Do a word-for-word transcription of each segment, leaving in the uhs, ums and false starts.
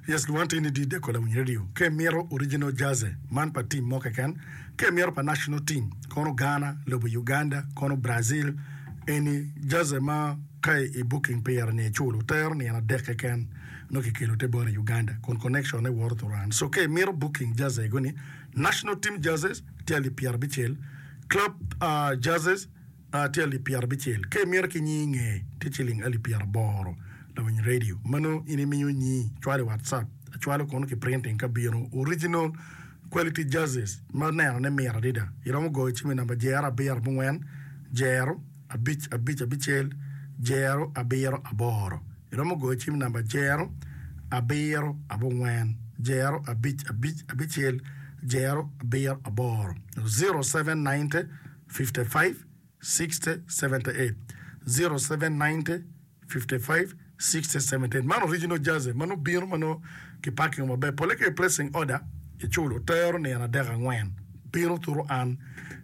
Yes, luwan tye ni di deko lawiny radio. Ka imito original jersey man pa team mo keken, ka imito pa national team, kono Ghana, lobo Uganda, kono Brazil, eni jersey ma ka i booking pire ni iculo tero nino adek keken nongo kikelo te bot i Uganda kun connection ne woto through. So ka imito booking jersey go ni national team jerseys tye alip pyerabicel, club uh, jerseys uh, tye alip pyerabicel. Ka imito ki nying nge tye ciling alip pyeraboro lawiny radio. Mano in imiyo nyi cwalo i WhatsApp, acwalo kono ki printing ka bino original quality jerseys ma neno ne mit adada. Iromo goyo cim i namba jero abiro abongwen jero abic abic abicel jero abiro aboro. Iromo goyo cim i namba jero abiro abongwen jero abic abic abicel jero abiro aboro. Zero seven ninety fifty five sixty seventy eight zero seven ninety fifty five sixty seventy eight. Man original jersey ma nongo bino ma nongo ki parking maber. Pole ka i placing order iculo tero nino adek angwen bino turu an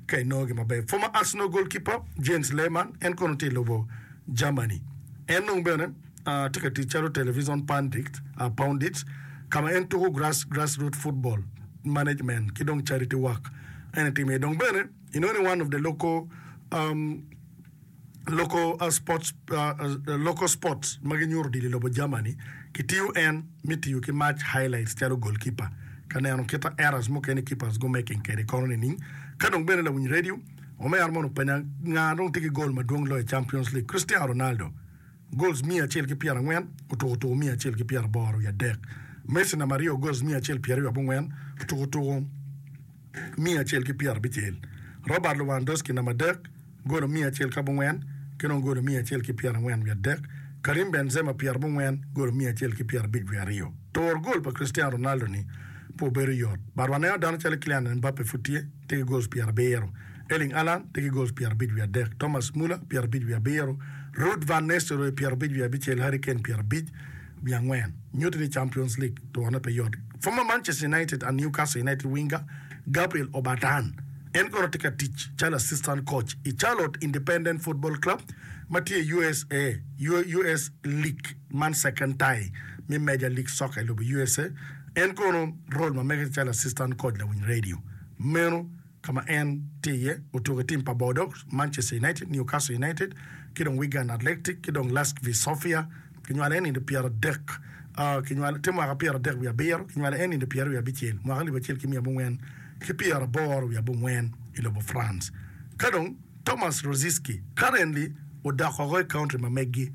ka inongo gi maber. Former Arsenal goalkeeper Jens Lehmann en kono tye i lobo Germany. En dong bene uh, tye ka tic calo television pundit, uh, pundit ka ma en tuko grass, grassroot football management ki dong charity work en itimo iye. Dong bene inongo ni one of the local um, local uh, sports uh, uh, local sports ma ginyuto odilo i lobo Germany kitiyo en me tiyo ki match highlights calo goalkeeper ka neno kita errors mukene keepers go making kede kono nining. Ka dong bene lawiny radio omera mono openya nga dong tye ki goal madwong loyo i Champions League Cristiano Ronaldo goals miya acel ki pyerangwen otuko tuko miya acel ki pyeraboro wiye adek. Messi namba aryo goals miya acel pyeraryo abongwen otuko tuko miya acel ki pyerabicel. Robert Lewandowski namba adek golo miya acel ki abongwen ki dong golo miya acel ki pyerangwen wiye adek. Karim Benzema pyerabongwen golo miya acel ki pyerabic wiye aryo. Turo gol pa Cristiano Ronaldo ni pe obedo yot. But waneno dano calo Kylian Mbappe pud tye tye ki goals pyerabiro. Erling Haaland tye ki goals pyerabic wiye adek. Thomas Muller pyerabic wiye abiro. Ruud van Nistelrooy pyerabic wiye abicel. Harry Kane pyerabic wiye angwen. Nyuto ni Champions League turone pe yot. Former Manchester United and Newcastle United winger Gabriel Obertan en kono tye ka tic calo assistant coach i Charlotte Independent Football Club ma tye i U S A U S League man second tie me Major League Soccer i lobo U S A. En kono role ma mege calo assistant coach lawiny radio. Meno ka ma en tye iye otuko i team pa Bordeaux, Manchester United, Newcastle United ki dong Wigan Athletic ki dong Levski Sofia. Kinywalo en nino pyeradek uh, kinywalo tye mwaka pyeradek wiye abiro kinywalo en nino pyeraryo wiye abicel mwaka alip acel ki miya abongwen ki pyeraboro wiye abongwen i lobo France. Ka dong Thomas Rosicky currently odok oko i country ma meggi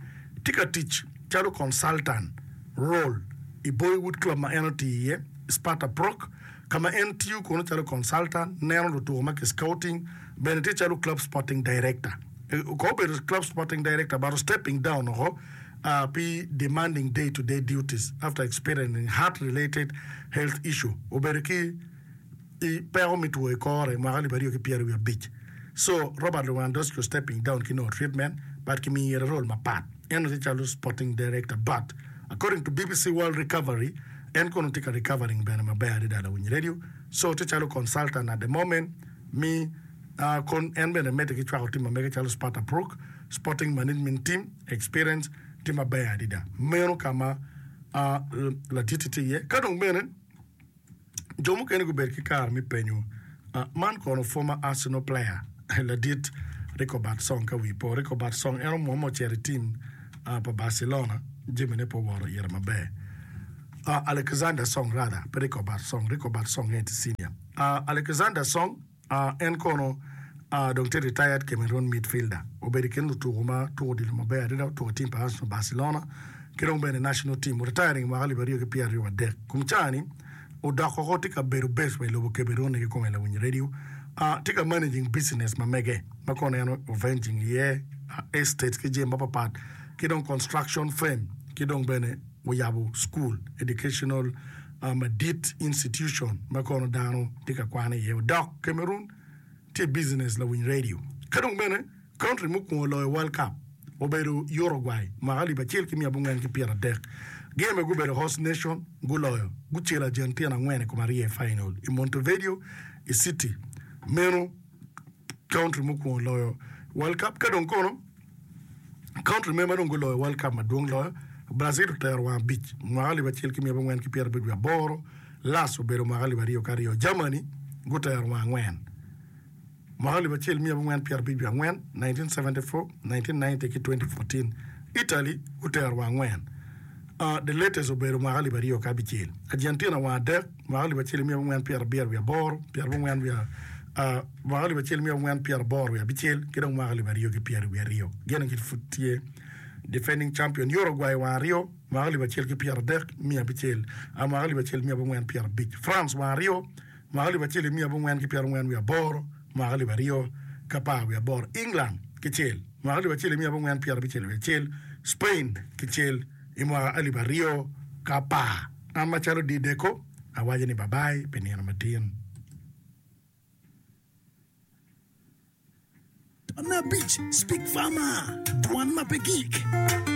tye ka tic calo consultant role i Boyhood Club ma en otiyo iye Sparta Prague ka ma en tiyo kono calo consultant neno lutuko ma ki scouting bene tye calo club sporting director. Ko obedo club sporting director but stepping down oko uh, pi demanding day to day duties after experiencing heart related health issue. Obedo ki i peko me two i kore mwaka alip aryo ki pyeraryo wiye abic. So Robert Lewandowski stepping down ki no treatment but kimiyo ire role mapat. En tye calo sporting director but according to B B C World Recovery en kono tye ka recovering bene maber adada lawiny radio. So tye calo consultant at the moment mi uh, kon en bene medde ki cwako team ma mege calo Sparta Prague sporting management team experience tye maber adada. Meno ka ma uh, laditi tye iye. Ka dong bene jo mukene gubedo ki kare me penyo uh, man kono former Arsenal player ladit Rigobert Song ka wi po Rigobert Song en omwomo ocito i team uh, pa Barcelona jamine pe owoto ire maber. uh, Alexander Song rather, pe Rigobert Song. Rigobert Song en tye senior. uh, Alexander Song uh, en kono uh, dong tye retired Cameroon midfielder. Obedo i kin lutuko ma tuko odilo maber adada otuko i team pa Arsenal, Barcelona ki dong bene national team. Retiring mwaka alip aryo ki pyeraryo adek. Kum cani odok oko tye ka bedo base wa i lobo Cameroon ki kome lawiny radio. uh, tye ka managing business ma mege ma kono en oventing iye uh, estates ki jami mapapat ki dong construction firm ki dong bene oyabo school educational uh, madit institution ma kono dano tye ka kwano iye. Odok Cameroon tye business lawiny radio. Ka dong bene country mukwongo loyo World Cup obedo Uruguay mwaka alip acel ki miya abongwen ki pyeradek. Gin gubedo host nation guloyo gucelo Argentina angwen i kom aryo i final i Montevideo i city. Meno country mukwongo loyo World Cup. Ka dong kono country me ma dong guloyo World Cup madwong loyo Brazil otero wang abic mwaka alip acel ki miya abongwen ki pyerabic wiye aboro, last obedo mwaka alip aryo ki aryo. Germany gutero wang angwen mwaka alip acel miya abongwen pyerabic wiye angwen, nineteen seventy four, nineteen ninety ki twenty fourteen. Italy gutero wang angwen, the latest obedo mwaka alip aryo ki abicel. Argentina wang adek mwaka alip acel miya abongwen pyerabiro wiye aboro, pyerabongwen wiye mwaka alip acel miya abongwen pyeraboro wiye abicel ki dong mwaka alip aryo ki pyeri wiye aryo. Gin aye pud tye defending champion. Uruguay wang aryo mwaka alip acel ki pyeradek miya abicel mwaka alip acel miya abongwen pyerabic. France wang aryo mwaka alip acel miya abongwen ki pyerangwen wiye aboro mwaka alip aryo ki apar wiye aboro. England kicel mwaka alip acel miya abongwen pyerabicel wiye acel. Spain kicel i mwaka alip aryo ki apar. An macalo Dideko awaco ni babai pi nino matin. Ton abic Speak Farmer, Dwan ma pe gik.